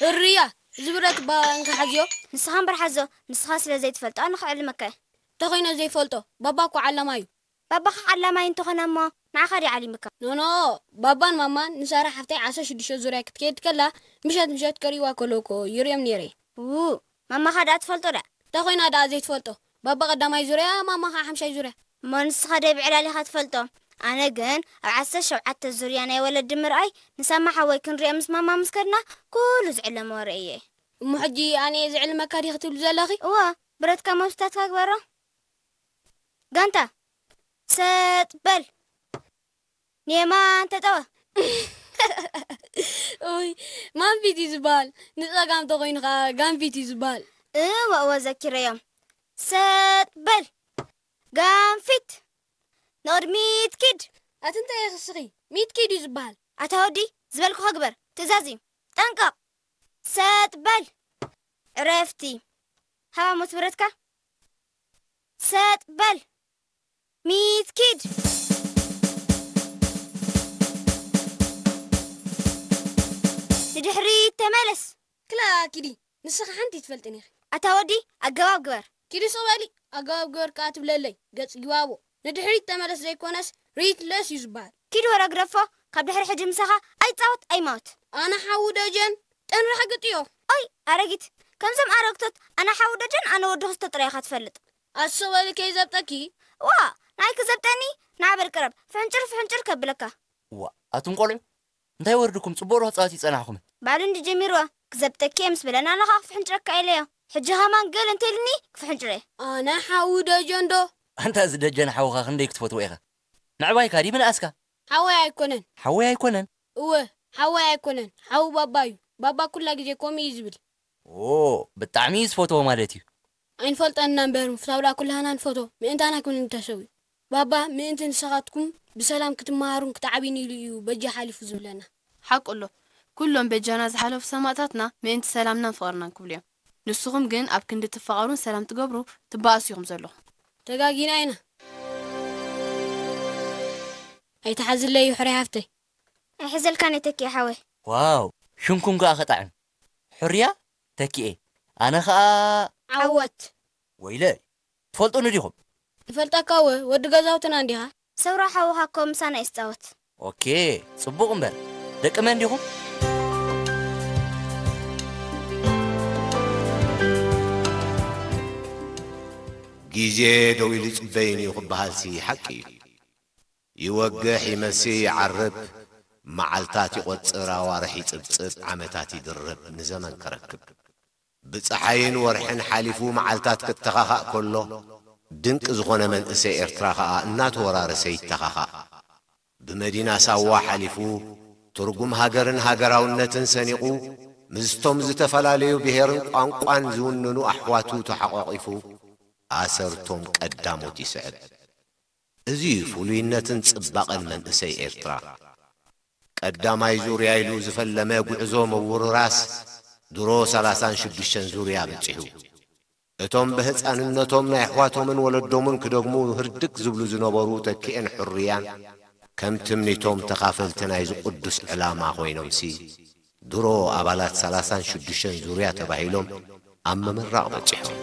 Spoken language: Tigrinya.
እርያ፣ እዚ ብረት እባ እንካ ሓዝዮ። ንስኻ እምበር ሓዞ፣ ንስኻ ስለ ዘይትፈልጦ ኣነ ክዕልመካ እየ። እንተኾይነ ዘይፈልጦ፣ ባባ እኮ ዓላማይ እዩ። ባባኻ ዓላማይ እንተኾነ እሞ ንዓኻ ድዩ ዓሊምካ? ኖኖ፣ ባባን ማማን ንሳራ ሓፍተይ ዓሰርተ ሽዱሽተ ዙርያ ክትከይድ ከላ ምሸት ምሸት ከርእይዋ ከለዉ እኮ ይርእዮም ነይረ። ው፣ ማማኻ ደኣ ትፈልጦ ደኣ? እንተኾይና ደኣ ዘይትፈልጦ? ባባ ቀዳማይ ዙርያ፣ ማማ ኸዓ ሓምሻይ ዙርያ። እሞ ንስኻ ደይ ብዕላል ኢኻ ትፈልጦ። ኣነ ግን ኣብ ዓሰርተ ሸውዓተ ዙርያ ናይ ወለዲ ምርኣይ ንሳማ ሓወይ ክንሪኦ ምስ ማማ ምስ ከድና ኩሉ ዝዕለሞ ርእየ። እሞ ሕጂ ኣነ እየ ዝዕልመካ ዲኺ ትብሊ ዘለኺ? እወ፣ ብረትካ መብስታትካ ግበሮ። ጋንታ፣ ሰጥ በል። ንየማን ተጠወ። ኡይ፣ ማንፊት እዩ ዝበሃል። ንጸጋም ተኾይኑ ኸዓ ጋንፊት እዩ ዝበሃል። እወ፣ እወ፣ ዘኪረዮም። ሰጥ በል። ጋንፊት። ንቕድሚት ኪድ። ኣቲ እንታይ ኢኺ እስኺ? ሚት ኪድ እዩ ዝበሃል። ኣታ ወዲ፣ ዝበልኩኻ ግበር። ትእዛዝ እዩ። ጠንቀቕ። ሰጥ በል። ዕረፍቲ። ሃባ ሞት ብረትካ። ሰጥ በል። ሚት ኪድ። ንድሕሪት ተመለስ። ክላ ኪዲ፣ ንስኺ ሓንቲ ትፈልጥን ኢኺ። ኣታ ወዲ፣ ኣገባብ ግበር። ኪዲ ስቕ በሊ፣ ኣገባብ ግበር ከኣ ትብለለይ፣ ገጽ ጊባቦ። ንድሕሪት ተመለስ ዘይኮነስ፣ ሪት ለስ እዩ ዝበሃል። ኪድ ወረ ግደፎ፣ ካብ ድሕሪ ሕጂ ምሳኻ ኣይጻወት ኣይማወት። ኣነ ሓዉ ደጀን፣ ጠንራሕ ግጥዮ። ኦይ፣ ኣረጊት፣ ከምዞም ኣረግቶት፣ ኣነ ሓዉ ደጀን፣ ኣነ ወዲ ክስቶ ጥራይ ኢኻ ትፈልጥ። ኣቲ ስቕ በሊ ከይዘብጠኪ። ዋ፣ ናይ ክዘብጠኒ፣ ንዓ በል ቅረብ፣ ፍሕንጭር ፍሕንጭር ከብለካ። ዋ፣ ኣቱም ቆልዑ፣ እንታይ ወርድኩም? ጽቡቕ ዶ ክጻወት ይጸናሕኩምን? ባዕሉ እንዲ ጀሚርዋ፣ ክዘብጠኪ እየ ምስ በለና፣ ኣነ ኸኣ ክፍሕንጭረካ ኢለዮ። ሕጂ ኸማን ገል እንተ ኢልኒ፣ ክፍሕንጭረ እየ። ኣነ ሓዉ ደጀን ዶ? ኣንታ እዚ ደጀን ሓውኻ ክንደይ ክትፈትዎ ኢኻ? ምዕባይካ ድዩ ምንኣስካ? ሓወይ ኣይኮነን። ሓወይ ኣይኮነን? እወ፣ ሓወይ ኣይኮነን። ሓዉ ባባ እዩ። ባባ ኩላ ግዜ ከምኡ እዩ ዝብል። ኦ፣ ብጣዕሚ እዩ ዝፈትዎ ማለት እዩ። ኣይንፈልጠን ኢና እምበር፣ ምፍታው ደኣ ኩላህና ንፈትዎ። ምእንታና ክንተሰው እዩ። ባባ፣ ምእንቲ ንስኻትኩም ብሰላም ክትመሃሩን ክትዓብዩን ኢሉ እዩ በጃ ሓሊፉ ዝብለና። ሓቁ ኣሎ። ኩሎም በጃና ዝሓለፉ ሰማእታትና ምእንቲ ሰላምናን ፍቕርናን ክብሉ እዮም። ንስኹም ግን ኣብ ክንዲ ትፋቐሩን ሰላም ትገብሩ ትበኣሱ ኢኹም ዘለኹም። ተጋጊና ኢና። ኣይትሓዝለይ ይሕረይ ሃፍተይ። ኣይሕዘልካን እየ ተኪኤ ሓወይ። ዋው፣ ሽምኩም ከኣ ከጣዕም። ሕርያ፣ ተኪኤ። ኣነ ኸኣ ዓወት። ወይለይ፣ ትፈልጡኒ ዲኹም? ንፈልጠካ እወ፣ ወዲ ገዛውትና እንዲኻ። ሰውራ ሓውኻ እኮ ምሳና እዩ ዝጻወት። ኦኬ፣ ጽቡቕ እምበር። ደቂ መን ዲኹም? ግዜ ደው ኢሉ ይጽበይን እዩ ክበሃልሲ ሓቂ እዩ። ይወግሕ ይመሲ ይዓርብ፣ መዓልታት ይቖጽር፣ ኣዋርሕ ይጽብጽብ፣ ዓመታት ይድርብ፣ ንዘመን ከረክብ። ብጸሓይን ወርሕን ሓሊፉ መዓልታት ክተኻኻእ ከሎ፣ ድንቂ ዝኾነ መንእሰይ ኤርትራ ኸኣ እናተወራረሰ ይተኻኻእ። ብመዲና ሳዋ ሓሊፉ፣ ትርጉም ሃገርን ሃገራውነትን ሰኒቑ፣ ምስቶም ዝተፈላለዩ ብሄርን ቋንቋን ዝውንኑ ኣሕዋቱ ተሓቋቒፉ፣ ኣሰርቶም ቀዳሞት ይስዕብ። እዚ እዩ ፍሉይነትን ጽባቐን መንእሰይ ኤርትራ። ቀዳማይ ዙርያ ኢሉ ዝፈለመ ጉዕዞ ምውርራስ ድሮ ሰላሳን ሽዱሽተን ዙርያ በጺሑ። እቶም ብህጻንነቶም ናይ ኣሕዋቶምን ወለዶምን ክደግሙ ህርድግ ዝብሉ ዝነበሩ ተኪኤን ሕሩያን፣ ከም ትምኒቶም ተኻፈልቲ ናይዚ ቅዱስ ዕላማ ኮይኖምሲ፣ ድሮ ኣባላት ሰላሳን ሽዱሽተን ዙርያ ተባሂሎም ኣብ ምምራቕ በጺሖም።